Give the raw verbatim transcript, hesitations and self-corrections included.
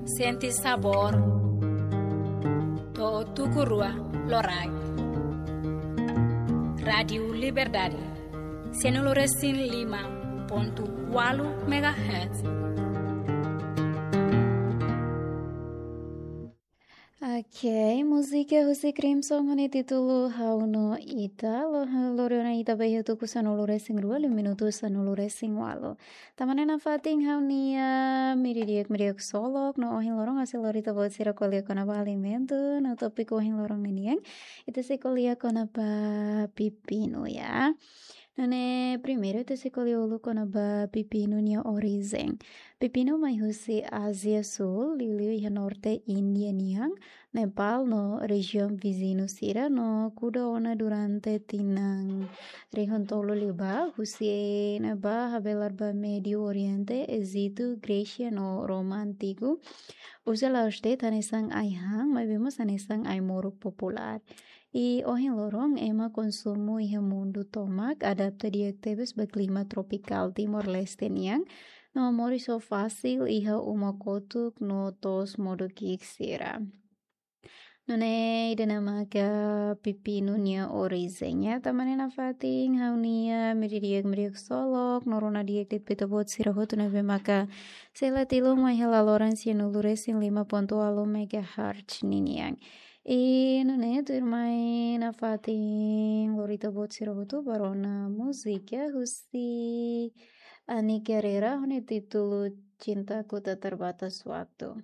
Sente sabór. To'o tuku rua loraik. Rádiu Liberdade, sanulu-resin-lima pontu ualu megahertz. Ok, múzika husi Crimson ho nia títulu Ha'u no Ita. Lo-, lori ona ita ba iha tuku sanulu-resin-rua, liu minutu sanulu-resin-ualu. Tan ne'e nafatin ha'u-nia meiudia di'ak, meiudia ksolok, no ohin loron ha'u sei lori ita-boot sira ko'alia kona-ba alimentu, no tópiku ohin loron ninian ita sei ko'alia kona-ba pepinu, ya. Nune'e primeiru ita sei ko'alia uluk kona-ba pepinu nia orijen. Pepinu mai husi Ázia Súl, liuliu iha norte Índia nian, Nepal no rejiaun viziñu sira, no kuda ona durante tinan rihun tolu liubá, husi ne'ebá habelar ba Médiu Oriente, Ejitu, Grésia no Roma Antigu. Uza la'ós de'it hanesan ai-han, maibé mós hanesan ai-moruk populár. I ohin loron ema konsumu iha mundu tomak, adapta di'ak tebes ba klima tropikál Timor-Leste nian, no moris ho fasil iha uma kotuk no to'os modo ki'ik sira. Nune'e ida-ne'e maka pepinu nia orijen, ya. Tan ne'e nafatin ha'u-nia meiudia di'ak, meiudia ksolok, no rona di'ak de'it ba ita-boot sira hotu ne'ebé maka sei la tilun mai iha laloran sanulu-resin-lima pontu ualu megahertz ninian. I nune'e tuirmai nafatin lori ita-boot sira hotu ba rona múzika husi Ani Guerreira ho nia títulu Cintaku Tak Terbatas Waktu.